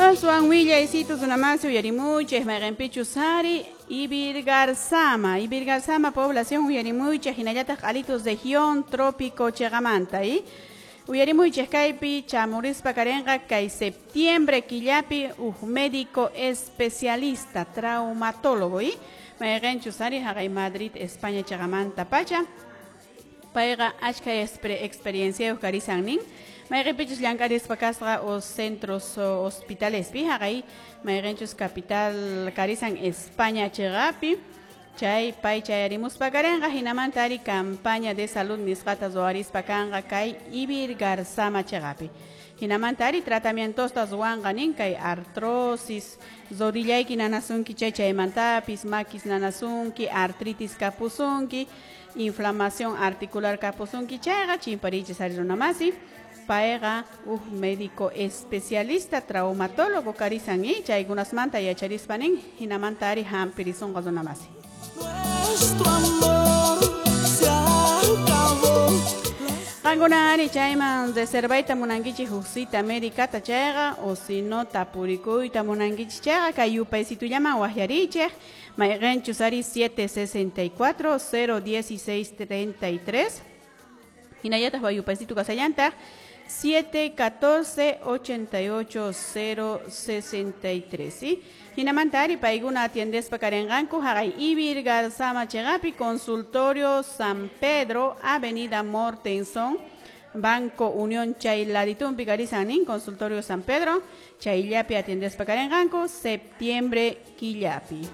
Aswan willaysitu runamasi uyarimuychik mayqinpichus ari Ivirgarzama, Ivirgarzama población uyarimuychik hinallataq Q'alitus región trópico chiqamanta y uyarimuychik kaypi chamurispa karinqa kay septiembre killapi huk médico especialista traumatólogo y mayqinchus ari haqay Madrid España chiqamanta pacha payqa achka experienciayuq karisan nin mayqinpichus llank'arispa kasqa o centros hospitalespi haqay mayqinchus capital karisan España chiqapi chay pay chayarimuspa karinqa hinamanta ari campaña de salud nisqata ruwarispa kanqa kay Ivirgarzama chiqapi hinamanta ari tratamientosta ruwanqa nin kay artrosis rodillayki nanasunki chay chaymantapis makis nanasunki artritis kapusunki inflamación articular kapusunki chayqa chimparichis ari runamasi payqa huk médico especialista traumatólogo karisan y chaykunasmanta yacharispa nin hinamanta ari hampirisunqa runamasi. Nuestro amor se acabó. Qankuna ari chayman reservayta munankichik huk cita médicata chayqa o si no tapurikuyta munankichik chayqa kay yupaysitullaman waqyarichik mayqinchus ari 764 016 33 hinallataq yupaysitu kasallantaq 714 88 063 ¿sí? Hinamanta ari paykuna atiendespa karinqanku haqay Ivirgarzama chiqapi consultorio San Pedro Avenida Mortenson Banco Unión chay laditumpi karisan nin consultorio San Pedro chayllapi atiendespa karinqanku septiembre killapi.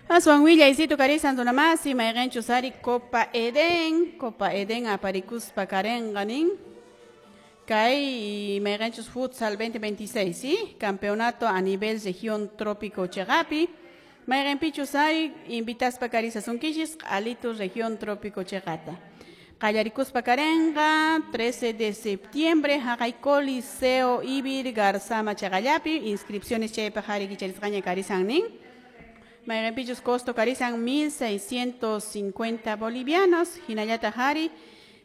Aswan willaysitu karisan runamasi mayqinchus ari Copa Edén, Copa Edén aparikuspa karinqa nin kay mayqinchus futsal 2026, ¿sí? Campeonato a nivel región trópico chiqapi mayqinpichus ari invitaspa karisasunkichis Q'alitus región trópico chiqata. Qallarikuspa karinqa 13 de septiembre haqay Coliseo Ivirgarzama chiqallapi inscripciones chaypaq ari kicharisqaña karisan nin. Mayqinpichus costo karisan 1.650 bolivianos, hinallataq ari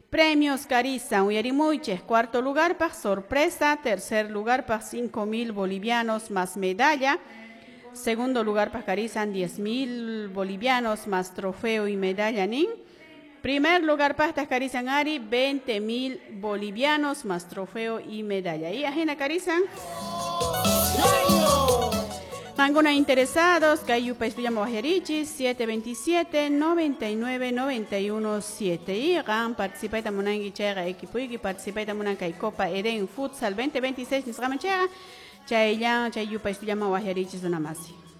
premios karisan uyarimuychik cuarto lugar paq sorpresa, tercer lugar paq 5.000 bolivianos más medalla, segundo lugar paq karisan 10.000 bolivianos más trofeo y medalla nin, primer lugar paqtaq karisan ari 20.000 bolivianos más trofeo y medalla. Y ajina karisan. Qankuna interesados, kay yupaystullaman waqyarichis 727 99 91 7 y qan participayta munanki chayqa equipoyki participayta munan kay Copa Edén Futsal 2026 nisqaman chayqa chayllan chay yupaystullaman waqyarichis runamasi.